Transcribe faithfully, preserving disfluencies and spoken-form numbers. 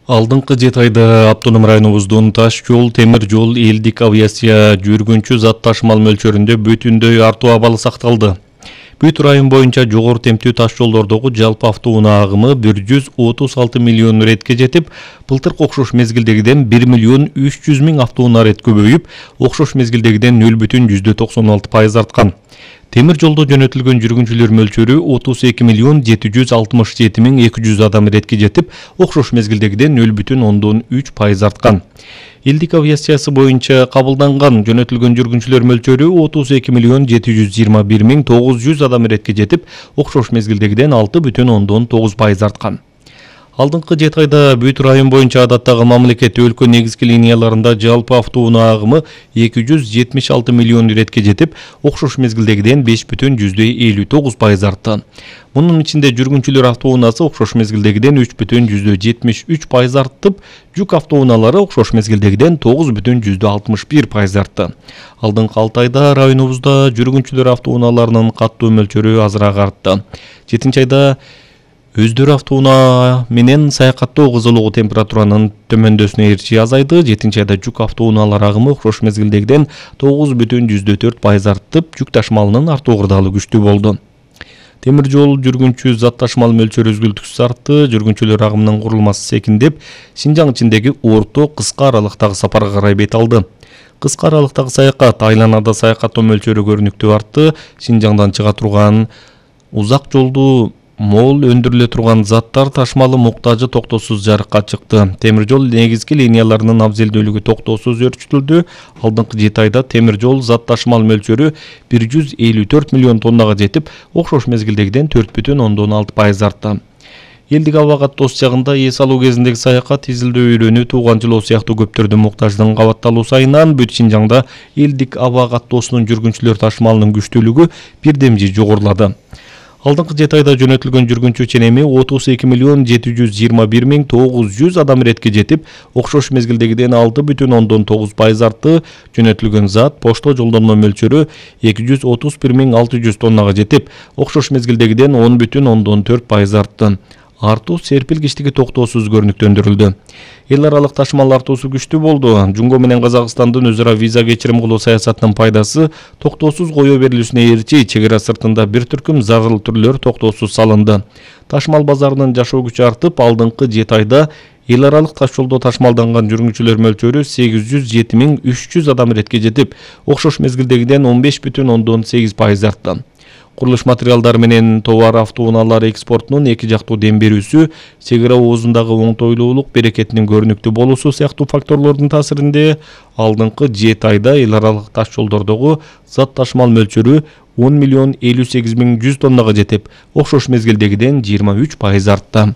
Алдыңкы жети айда автоном районубуздун таш жол, темир жол, элдик авиация жүргүнчү зат ташымал мөлчөрүндө бүтүндөй артуу абалы сакталды. Бүт район боюнча жогору темптүү таш жолдордогу жалпы автоунаа агымы бир жүз отуз алты миллион ретке жетип, былтыркы окшош мезгилдегиден бир миллион үч жүз миң автоунаа рет көбөйүп, окшош мезгилдегиден нөл бүтүн жүздө токсон алты пайыз арткан. Темир жолдо жөнөтүлгөн жүргүнчүлөр мөлчөрү отуз эки миллион жети жүз алтымыш жети миң эки жүз адам ретке жетип, окшош мезгилдегиден нөл бүтүн ондон үч пайыз арткан. Элдик авиациясы боюнча кабылданган жөнөтүлгөн жүргүнчүлөр мөлчөрү отуз эки миллион жети жүз жыйырма бир миң тогуз жүз адам ретке жетип, окшош мезгилдегиден алты бүтүн ондон тогуз пайыз арткан. Алдыңкы жети айда бүт район боюнча адаттагы мамлекет өлкө негизги линияларында жалпы автоунаа агымы эки жүз жетимиш алты миллион ретке жетип, окшош мезгилдегиден беш бүтүн жүздөй элүү тогуз пайыз артты. Мунун ичинде жүргүнчүлөр автоунаасы окшош мезгилдегиден үч бүтүн жүздөй жетимиш үч пайыз артып, жүк автоунаалары окшош мезгилдегиден тогуз бүтүн жүздөй алтымыш бир пайыз артты. Алдыңкы алты айда районубузда жүргүнчүлөр автоунааларынын каттуу мөлчөрү азыраак артты. жетинчи айда өздөрү автоунаа менен саякаттоо кызылуу температуранын төмөндөсүнө ээрчи азайды. жетинчи айда жүк автоунаалар агымы окшош мезгилдегиден тогуз бүтүн жүздөй төрт пайыз артып, жүк ташымалынын артуу кырдаалы күчтүү болду. Темир жол жүргүнчү зат ташымал мөлчөрү үзгүлтүксүз артты. Жүргүнчүлөр агымынын курулмасы секиндеп, Шинжаң ичиндеги орто кыска аралыктагы сапарга карай бет алды. Кыска аралыктагы саякат, айланада саякаттоо мөлчөрү көрүнүктүү артты. Шинжаңдан чыга турган узак жолду мол өндүрүлө турган заттар ташымалы муктажы токтоосуз жарыкка чыкты. Темир жол негизги линияларынын абзелдүүлүгү токтоосуз өөрчүтүлдү. Алдыңкы жети айда темир жол зат ташымал мөлчөрү бир жүз элүү төрт миллион тоннага жетип, окшош мезгилдегиден төрт бүтүн ондон алты пайыз артты. Элдик аба каттоосу жагында эс алуу кезиндеги саякат, изилдөө үйрөнүү, тууган жылоо сыяктуу көптөрдүн муктаждыгын кабатталуу сайынан бүт Шинжаңда элдик аба каттоосунун жүргүнчүлөр ташымалынын күчтүүлүгү бирдемжи жогорулады. Алдыңкы жети айда жөнөтүлгөн жүргүнчү ченеми отуз эки миллион жети жүз жыйырма бир миң тогуз жүз адам ретке жетип, окшош мезгилдегиден алты бүтүн ондон тогуз пайыз артты. Жөнөтүлгөн зат пошто жолдонмо мөлчөрү эки жүз отуз бир миң алты жүз тоннага жетип, окшош мезгилдегиден он бүтүн ондон төрт пайыз артты. Артуу серпилгичтиги токтоосуз көрүнүктөндүрүлдү. Эл аралык ташымал артуусу күчтүү болду. Жумго менен Казакстандын өз ара виза кечирим кылуу саясатынын пайдасы токтоосуз кое берилүүсүнө ээрчи чек ара сыртында бир түркүм зарыл түрлөр токтоосуз салынды. Ташымал базарынын жашоо күчү артып, алдыңкы жети айда эл аралык таш жолдо ташымалданган жүргүнчүлөр мөлчөрү сегиз жүз жети миң үч жүз адам ретке жетип, окшош мезгилдегиден он беш бүтүн ондон сегиз пайыз артты. Курулуш материалдары менен товар автоунаалары экспортунун эки жактуу дем берүүсү, чек ара оозундагы оңтойлуулук, берекетинин көрүнүктүү болуусу сыяктуу факторлордун таасиринде алдыңкы жети айда эл аралык таш жолдордогу зат ташымал мөлчөрү он миллион элүү сегиз миң жүз тоннага жетип, окшош мезгилдегиден жыйырма үч пайыз артты.